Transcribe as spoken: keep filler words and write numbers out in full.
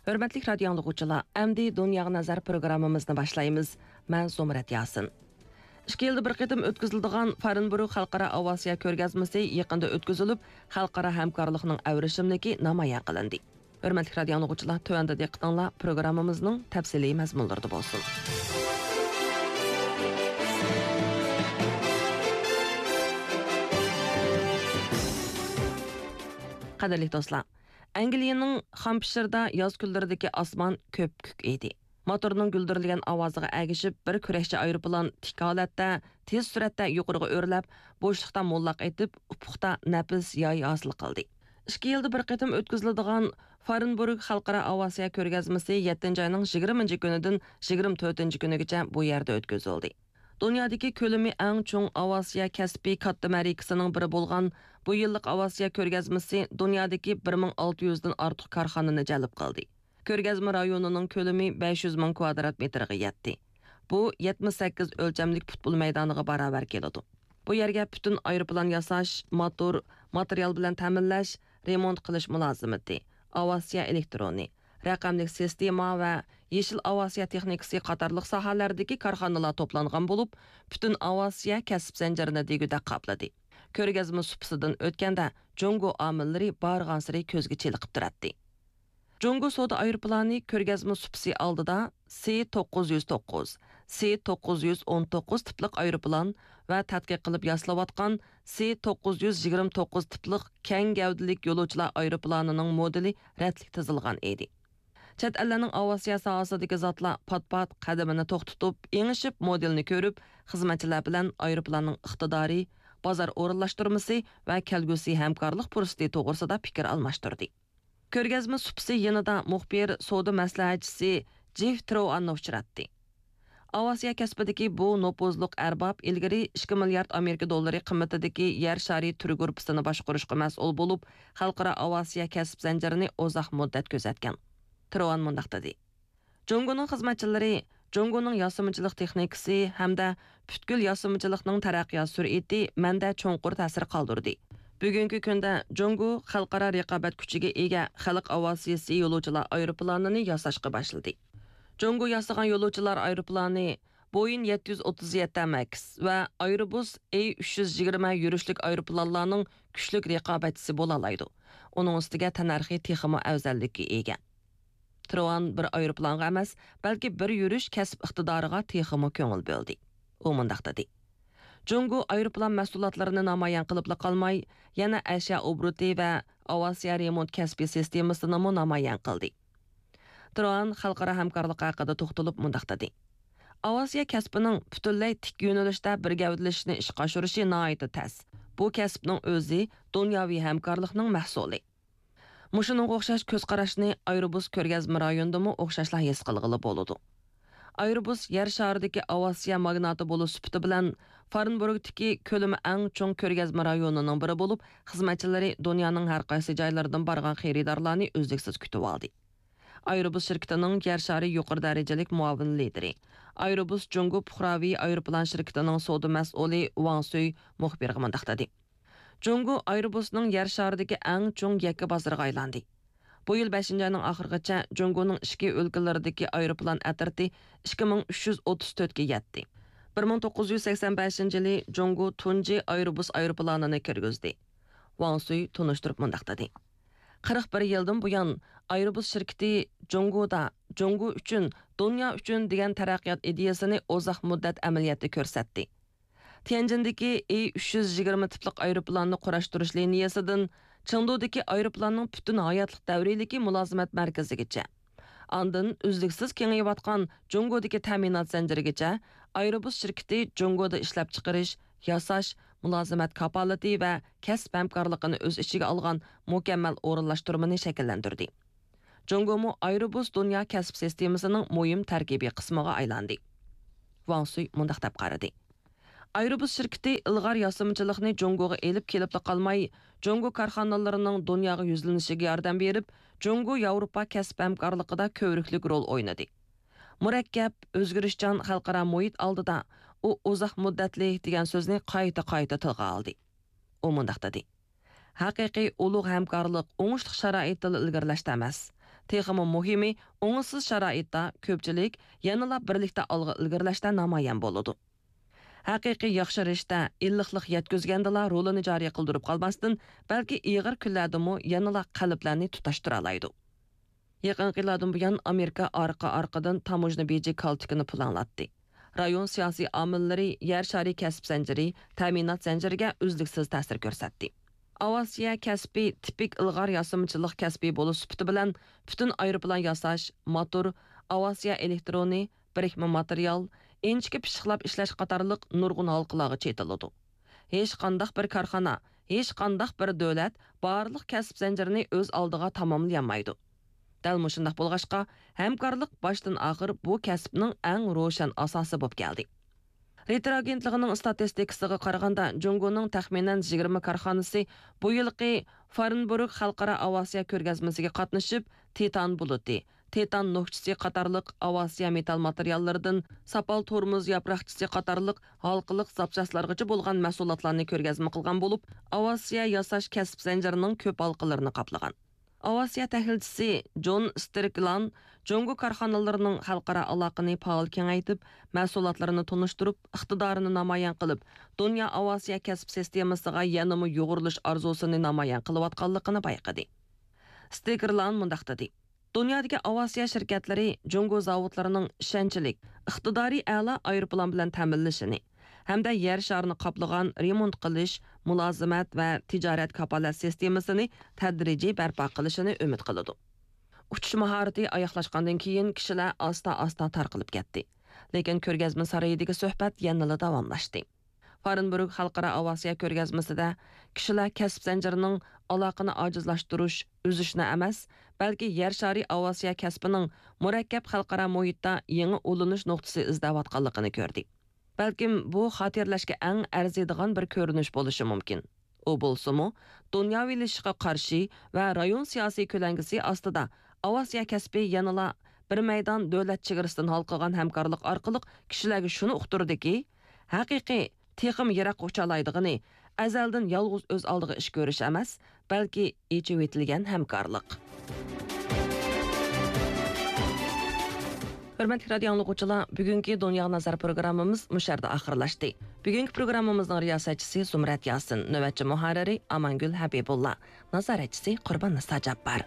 ھۆرمەتلىك رادىيو ئاڭلىغۇچىلار، ئەمدى دۇنياغا نەزەر پروگراممىمىزنى باشلايمىز. مەن زۇمرەت ياسىن. ئىككى يىلدا بىر قېتىم ئۆتكۈزۈلىدىغان فارنبورگ خەلقئارا ئاۋىئاتسىيە كۆرگەزمىسى يېقىندا ئۆتكۈزۈلۈپ، خەلقئارا ھەمكارلىقنىڭ ئەۋرىشىملىكى نامايان قىلىندى. ھۆرمەتلىك رادىيو ئاڭلىغۇچىلار، تۆۋەندە دىققىتىڭلار پروگراممىمىزنىڭ تەپسىلىي مەزمۇنلىرىدا بولسۇن. قەدىرلىك دوستلار، ئەنگلىيەنىڭ خامپشىردا ياز كۈنلىرىدىكى ئاسمان كۆپكۆك ئىدى. موتورنىڭ گۈلدۈرلىگەن ئاۋازىغا ئەگىشىپ، بىر كۈرەشچى ئايروپىلان تىك ھالەتتە، تېز سۈرئەتتە يۇقىرىغا ئۆرلەپ، بوشلۇقتا موللاق ئېتىپ، ئۇپۇقتا نەپىس ياي ھاسىل قىلدى. ئىككى يىلدا بىر قېتىم ئۆتكۈزۈلىدىغان فارنبورگ خەلقئارا ئاۋىئاتسىيە كۆرگەزمىسى يەتتىنچى ئاينىڭ يىگىرمىنچى كۈنىدىن يىگىرمە تۆتىنچى كۈنىگىچە بۇ يەردە ئۆتكۈزۈلدى. دۇنيادىكى كۆلىمى ئەڭ چوڭ ئاۋىئاتسىيە كەسپى كاتتا مەرىكىسىنىڭ بىرى بولغان بۇ يىللىق ئاۋىئاتسىيە كۆرگەزمىسى دۇنيادىكى بىر مىڭ ئالتە يۈزدىن ئارتۇق كارخانىنى جەلپ قىلدى. كۆرگەزمە رايونىنىڭ كۆلىمى بەش يۈز مىڭ كۋادرات مېتىرغا يەتتى. بۇ يەتمىش سەككىز ئۆلچەملىك پۇتبول مەيدانىغا باراۋەر كېلىدۇ. بۇ يەرگە پۈتۈن ئايروپىلان ياساش، موتور، ماتېرىيال بىلەن تەمىنلەش، رېمونت قىلىش مۇلازىمىتى، ئاۋىئاتسىيە ئېلېكترونى، رەقەملىك سىستېما ۋە يېشىل ئاۋىئاتسىيە تېخنىكىسى قاتارلىق ساھەلەردىكى كارخانىلار توپلانغان بولۇپ، پۈتۈن ئاۋىئاتسىيە كەسىپ زەنجىرىنى دېگۈدەك قاپلىدى. كۆرگەزمە سۇپىسىدىن ئۆتكەندە، جۇڭگو ئامىللىرى بارغانسېرى كۆزگە چېلىقىپ تۇراتتى. جۇڭگو سودا ئايروپىلانى كۆرگەزمە سۇپىسى ئالدىدا سى توققۇز يۈز توققۇز، سى توققۇز يۈز ئون توققۇز تىپلىق ئايروپىلان ۋە تەتقىق قىلىپ ياسىلىۋاتقان سى توققۇز يۈز يىگىرمە توققۇز تىپلىق كەڭ گەۋدىلىك يولۇچىلار ئايروپىلانىنىڭ مودېلى رەتلىك تىزىلغان ئىدى. چەت ئەللەرنىڭ ئاۋىئاتسىيە ساھەسىدىكى زاتلار پات-پات قەدىمىنى توختىتىپ، ئېڭىشىپ مودېلنى كۆرۈپ، خىزمەتچىلەر بىلەن ئايروپىلاننىڭ ئىقتىدارى، بازار ئورۇنلاشتۇرمىسى ۋە كەلگۈسى ھەمكارلىق پۇرسىتى توغرىسىدا پىكىر ئالماشتۇردى. كۆرگەزمە سۇپىسى يېنىدا مۇخبىر سودا مەسلىھەتچىسى جېف تروئاننى ئۇچراتتى. ئاۋىئاتسىيە كەسپىدىكى بۇ نوپۇزلۇق ئەرباب ئىلگىرى ئىككى مىليارد ئامېرىكا دوللىرى قىممىتىدىكى يەر شارى تۈر گۇرۇپپىسىنى باشقۇرۇشقا مەسئۇل بولۇپ، خەلقئارا ئاۋىئاتسىيە كەسىپ زەنجىرىنى ئۇزاق مۇددەت كۆزەتكەن. تروئان مۇنداق دېدى. جۇڭگونىڭ خىزمەتچىلىرى جۇڭگونىڭ ياسىمىچىلىق تېخنىكىسى ھەمدە پۈتكۈل ياسىمىچىلىقنىڭ تەرەققىيات سۈرئىتى مەندە چوڭقۇر تەسىر قالدۇردى. بۈگۈنكى كۈندە جۇڭگو خەلقئارا رىقابەت كۈچىگە ئىگە خەلق ئاۋىئاتسىيىسى يولۇچىلار ئايروپىلانىنى ياساشقا باشلىدى. جۇڭگو ياسىغان يولۇچىلار ئايروپىلانى بويىن يەتتە يۈز ئوتتۇز يەتتە ماكس ۋە ئايروبۇس ئەي ئۈچ يۈز يىگىرمە يۈرۈشلۈك ئايروپىلانلارنىڭ كۈچلۈك رىقابەتچىسى بولالايدۇ. ئۇنىڭ ئۈستىگە تەننەرخى تېخىمۇ ئەۋزەللىككە ئىگە. تروئان بىر ئايروپىلانغا ئەمەس، بەلكى بىر يۈرۈش كەسىپ ئىقتىدارىغا تېخىمۇ كۆڭۈل بۆلدى. ئۇ مۇنداق دېدى: جۇڭگو ئايروپىلان مەھسۇلاتلىرىنى نامايان قىلىپلا قالماي، يەنە ئەشيا ئوبوروتى ۋە ئاۋىئاتسىيە رېمونت كەسپىي سىستېمىسىنىمۇ نامايان قىلدى. تروئان خەلقئارا ھەمكارلىق ھەققىدە توختىلىپ مۇنداق دېدى: ئاۋىئاتسىيە كەسپىنىڭ پۈتۈنلەي تىك يۆنىلىشتە بىر گەۋدىلىشىشنى ئىشقا ئاشۇرۇشى ناھايىتى تەس. بۇ كەسىپنىڭ ئۆزى دۇنياۋى ھەمكارلىقنىڭ مەھسۇلى. مۇشۇنىڭغا ئوخشاش كۆز قاراشنى ئايروبۇس كۆرگەزمە رايونىدىمۇ ئوخشاشلا ھېس قىلغىلى بولىدۇ. ئايروبۇس يەر شارىدىكى ئاۋىئاتسىيە ماگناتى بولۇش سۈپىتى بىلەن فارنبورگتىكى كۆلىمى ئەڭ چوڭ كۆرگەزمە رايونىنىڭ بىرى بولۇپ، خىزمەتچىلىرى دۇنيانىڭ ھەر قايسى جايلىرىدىن بارغان خېرىدارلارنى ئۈزلۈكسىز كۈتۈۋالدى. ئايروبۇس شىركىتىنىڭ يەر شارى يۇقىرى دەرىجىلىك مۇئاۋىن لىدىرى، ئايروبۇس جۇڭگو پۇقراۋى ئايروپىلان شىركىتىنىڭ سودا مەسئۇلى ۋاڭ سۈي مۇخبىرغا مۇنداق دېدى: جۇڭگو ئايروبۇسنىڭ يەر شارىدىكى ئەڭ چوڭ يەككە بازىرىغا ئايلاندى. بۇ يىل بەشىنچى ئاينىڭ ئاخىرىغىچە جۇڭگونىڭ ئىچكى ئۆلكىلىرىدىكى ئايروپىلان ئەترىتى ئىككى مىڭ ئۈچ يۈز ئوتتۇز تۆتكە يەتتى. بىر مىڭ توققۇز يۈز سەكسەن بەشىنچى يىلى جۇڭگو تۇنجى ئايروبۇس ئايروپىلانىنى كىرگۈزدى. ۋاڭ سۈي تونۇشتۇرۇپ مۇنداق دېدى: قىرىق بىر يىلدىن بۇيان، ئايروبۇس شىركىتى جۇڭگودا، جۇڭگو ئۈچۈن، دۇنيا ئۈچۈن دېگەن تەرەققىيات ئىدىيەسىنى ئۇزاق مۇددەت ئەمەلىيەتتە كۆرسەتتى. تيەنجىندىكى ئى ئۈچ يۈز يىگىرمە تىپلىق ئايروپىلاننى قۇراشتۇرۇش لىنىيەسىدىن چېڭدۇدىكى ئايروپىلاننىڭ پۈتۈن ھاياتلىق دەۋرىيلىكى مۇلازىمەت مەركىزىگىچە، ئاندىن ئۈزلۈكسىز كېڭىيىۋاتقان جۇڭگودىكى تەمىنات زەنجىرىگىچە، ئايروبۇس شىركىتى جۇڭگودا ئىشلەپچىقىرىش، ياساش، مۇلازىمەت كاپالىتى ۋە كەسىپ ھەمكارلىقىنى ئۆز ئىچىگە ئالغان مۇكەممەل ئورۇنلاشتۇرمىنى شەكىللەندۈردى. جۇڭگومۇ ئايروبۇس دۇنيا كەسىپ سىستېمىسىنىڭ مۇھىم تەركىبىي قىسمىغا ئايلاندى. ۋاڭ سۈي مۇنداق دەپ قارىدى: ئايروبۇس شىركىتى ئىلغار ياسىمىچىلىقنى جۇڭگوغا ئېلىپ كېلىپلا قالماي، جۇڭگو كارخانىلىرىنىڭ دۇنياغا يۈزلىنىشىگە ياردەم بېرىپ، جۇڭگو ياۋروپا كەسىپ ھەمكارلىقىدا كۆۋرۈكلۈك رول ئوينىدى. مۇرەككەپ، ئۆزگىرىشچان خەلقئارا مۇھىت ئالدىدا ئۇ ئۇزاق مۇددەتلىك دېگەن سۆزنى قايتا-قايتا تىلغا ئالدى. ئۇ مۇنداق دېدى: ھەقىقىي ئۇلۇغ ھەمكارلىق ئوڭۇشلۇق شارائىتتىلا ئىلگىرىلەشتە ئەمەس، تېخىمۇ مۇھىمى، ئوڭۇشسىز شارائىتتا كۆپچىلىك يەنىلا بىرلىكتە ئالغا ئىلگىرىلەشتە نامايان بولىدۇ. ھەقىقىي ياخشى رىشتە ئىللىقلىق يەتكۈزگەندىلا رولىنى جارى قىلدۇرۇپ قالماستىن، بەلكى ئېغىر كۈنلەردىمۇ يەنىلا قەلبلەرنى تۇتاشتۇرالايدۇ. يېقىنقى يىللاردىن بۇيان، ئامېرىكا ئارقا-ئارقىدىن تاموژنا بېجى كالتىكىنى پۇلاڭلاتتى. رايون سىياسىي ئامىللىرى يەر شارى كەسىپ زەنجىرى، تەمىنات زەنجىرىگە ئۈزلۈكسىز تەسىر كۆرسەتتى. ئاۋىئاتسىيە كەسپى تىپىك ئىلغار ياسىمىچىلىق كەسپى بولۇش سۈپىتى بىلەن پۈتۈن ئايروپىلان ياساش، موتور، ئاۋىئاتسىيە ئېلېكترونى، بىرىكمە ماتېرىيال، ئىنچىكە پىششىقلاپ ئىشلەش قاتارلىق نۇرغۇن ھالقىلارغا چېتىلىدۇ. ھېچقانداق بىر كارخانا، ھېچقانداق بىر دۆلەت بارلىق كەسىپ زەنجىرىنى ئۆز ئالدىغا تاماملىيالمايدۇ. دەل مۇشۇنداق بولغاچقا، ھەمكارلىق باشتىن ئاخىر بۇ كەسىپنىڭ ئەڭ روشەن ئاساسى بولۇپ كەلدى. رېيتېر ئاگېنتلىقىنىڭ ئىستاتىستىكىسىغا قارىغاندا، جۇڭگونىڭ تەخمىنەن يىگىرمە كارخانىسى بۇ يىلقى فارېنبورگ خەلقئارا ئاۋىئاتسىيە كۆرگەزمىسىگە قاتنىشىپ، تىتان بۇلۇتى، تىتان نوكچىسى قاتارلىق ئاۋىئاتسىيە مېتال ماتېرىياللىرىدىن ساپال تورمۇز ياپراقچىسى قاتارلىق ھالقىلىق زاپچاسلارغىچە بولغان مەھسۇلاتلارنى كۆرگەزمە قىلغان بولۇپ، ئاۋىئاتسىيە ياساش كەسىپ زەنجىرىنىڭ كۆپ ھالقىلىرىنى قاپلىغان. ئاۋىئاتسىيە تەھلىلچىسى جون سترىكلاند جۇڭگو كارخانىلىرىنىڭ خەلقئارا ئالاقىنى پائال كېڭەيتىپ، مەھسۇلاتلىرىنى تونۇشتۇرۇپ، ئىقتىدارىنى نامايان قىلىپ، دۇنيا ئاۋىئاتسىيە كەسىپ سىستېمىسىغا يەنىمۇ يۇغۇرۇلۇش ئارزۇسىنى نامايان قىلىۋاتقانلىقىنى بايقىدى. سترىكلاند مۇنداق دېدى: دۇنيادىكى ئاۋىئاتسىيە شىركەتلىرى جۇڭگو زاۋۇتلىرىنىڭ ئىشەنچلىك، ئىقتىدارى ئەلا ئايروپىلان بىلەن تەمىنلىشىنى ھەمدە يەر شارىنى قاپلىغان رېمونت قىلىش، مۇلازىمەت ۋە تىجارەت كاپالەت سىستېمىسىنى تەدرىجىي بەرپا قىلىشىنى ئۈمىد قىلىدۇ. ئۇچۇش ماھارىتى ئاياغلاشقاندىن كېيىن، كىشىلەر ئاستا-ئاستا تارقىلىپ كەتتى. لېكىن كۆرگەزمە سارىيىدىكى سۆھبەت يەنىلا داۋاملاشتى. فارېنبورگ خەلقئارا ئاۋىئاتسىيە كۆرگەزمىسىدە كىشىلەر كەسىپ زەنجىرىنىڭ ئالاقىنى ئاجىزلاشتۇرۇش، ئۈزۈشنى ئەمەس، بەلكى يەر شارى ئاۋىئاتسىيە كەسپىنىڭ مۇرەككەپ خەلقئارا مۇھىتتا يېڭى ئۇلىنىش نۇقتىسى ئىزدەۋاتقانلىقىنى كۆردى. بەلكىم بۇ خاتىرىلەشكە ئەڭ ئەرزىيدىغان بىر كۆرۈنۈش بولۇشى مۇمكىن. ئۇ بولسىمۇ، دۇنياۋىلىشىشقا قارشى ۋە رايون سىياسىي كۆلەڭگىسى ئاستىدا ئاۋىئاتسىيە كەسپى يەنىلا بىر مەيدان دۆلەت چېگرىسىدىن ھالقىغان ھەمكارلىق ئارقىلىق كىشىلەرگە شۇنى ئۇقتۇردىكى، ھەقىقىي، تېخىمۇ يىراققا ئۇچالايدىغىنى ئەزەلدىن يالغۇز ئۆز ئالدىغا ئىش كۆرۈش ئەمەس، بەلكى ئېچىۋېتىلگەن ھەمكارلىق. ھۆرمەتلىك رادىيو ئاڭلىغۇچىلار، بۈگۈنكى دۇنياغا نەزەر پروگراممىمىز مۇشۇ يەردە ئاخىرلاشتى. بۈگۈنكى پروگراممىمىزنىڭ رىياسەتچىسى زۇمرەت ياسىن، نۆۋەتچى مۇھەررىرى ئامانگۈل ھەبىبۇللا، نازارەتچىسى قۇرباننىسا جاپپار.